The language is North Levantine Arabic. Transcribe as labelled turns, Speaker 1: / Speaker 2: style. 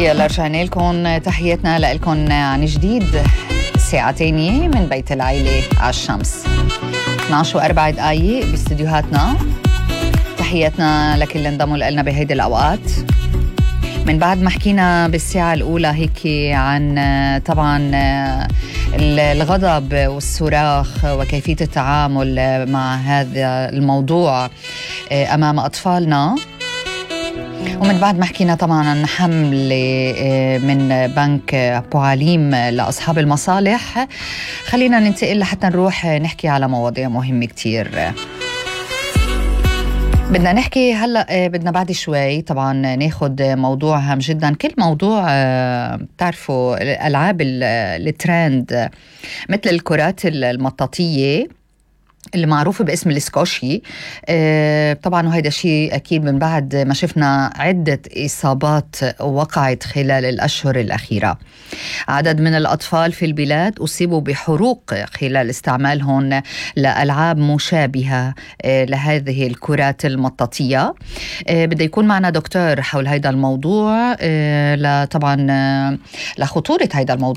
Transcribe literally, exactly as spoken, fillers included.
Speaker 1: يلا رجعنا لكم، تحياتنا لكم عن جديد الساعة تانية من بيت العيلة على الشمس. اثنعش وأربع دقايق باستديوهاتنا. تحياتنا لكل اللي انضموا لنا بهيدي الأوقات. من بعد ما حكينا بالساعة الأولى هيك عن طبعا الغضب والصراخ وكيفية التعامل مع هذا الموضوع أمام أطفالنا، ومن بعد ما حكينا طبعا عن حملة من بنك أبو عليم لأصحاب المصالح، خلينا ننتقل لحتى نروح نحكي على مواضيع مهمة كتير. بدنا نحكي هلأ، بدنا بعد شوي طبعا ناخد موضوع هام جدا. كل موضوع بتعرفوا الألعاب الترند مثل الكرات المطاطية اللي معروفة باسم الاسكوشي، آه طبعا وهيدا شيء أكيد من بعد ما شفنا عدة إصابات وقعت خلال الأشهر الأخيرة. عدد من الأطفال في البلاد أصيبوا بحروق خلال استعمالهم لألعاب مشابهة آه لهذه الكرات المطاطية. آه بده يكون معنا دكتور حول هيدا الموضوع، آه طبعا آه لخطورة هيدا الموضوع